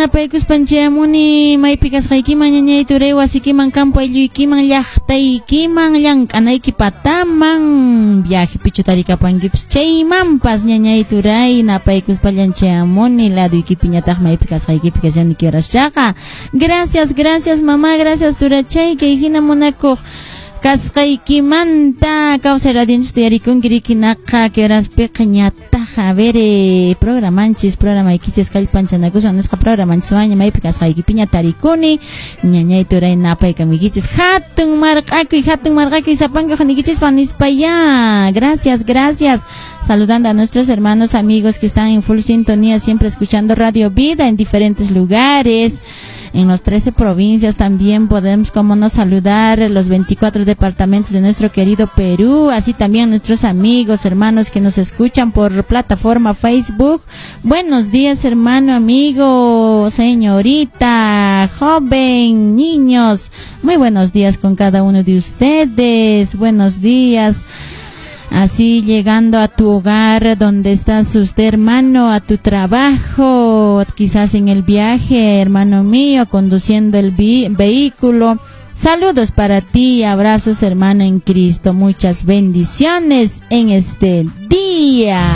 Napaykuspan chayamuni maypi kasqaykiman, ñañay turay, wasikiman, campo aylluykiman, llaqtaykiman, llank'anayki pataman, viajepichu tarikapankipis chaymanpas, ñañay turay, napaykuspallan chayamuni, laduykipiñataq maypi kasqaykipi kashani kioraschaqa. Gracias, gracias mamá, gracias turachay, kay hina munakuq kasqaykimanta. Kawsay radionchis yarikunki rikinaqa kioraspiqa ñataq, a ver, programanchis, programaykichis kallpanchanakusun nisqa programanchiswanña maypi kasqaykipiña tarikuni, ñañay turay, napaykamuykichis, hatun marq'akuy, hatun marq'akuy sapanka junikichispa nispa ya. Gracias, gracias. Saludando a nuestros hermanos, amigos que están en full sintonía, siempre escuchando Radio Vida en diferentes lugares, en los 13 provincias. También podemos, como no, saludar los 24 departamentos de nuestro querido Perú, así también nuestros amigos, hermanos que nos escuchan por plataforma Facebook. Buenos días, hermano, amigo, señorita, joven, niños. Muy buenos días con cada uno de ustedes. Buenos días. Así llegando a tu hogar donde estás usted, hermano, a tu trabajo, quizás en el viaje, hermano mío, conduciendo el vehículo. Saludos para ti, abrazos, hermano en Cristo, muchas bendiciones en este día.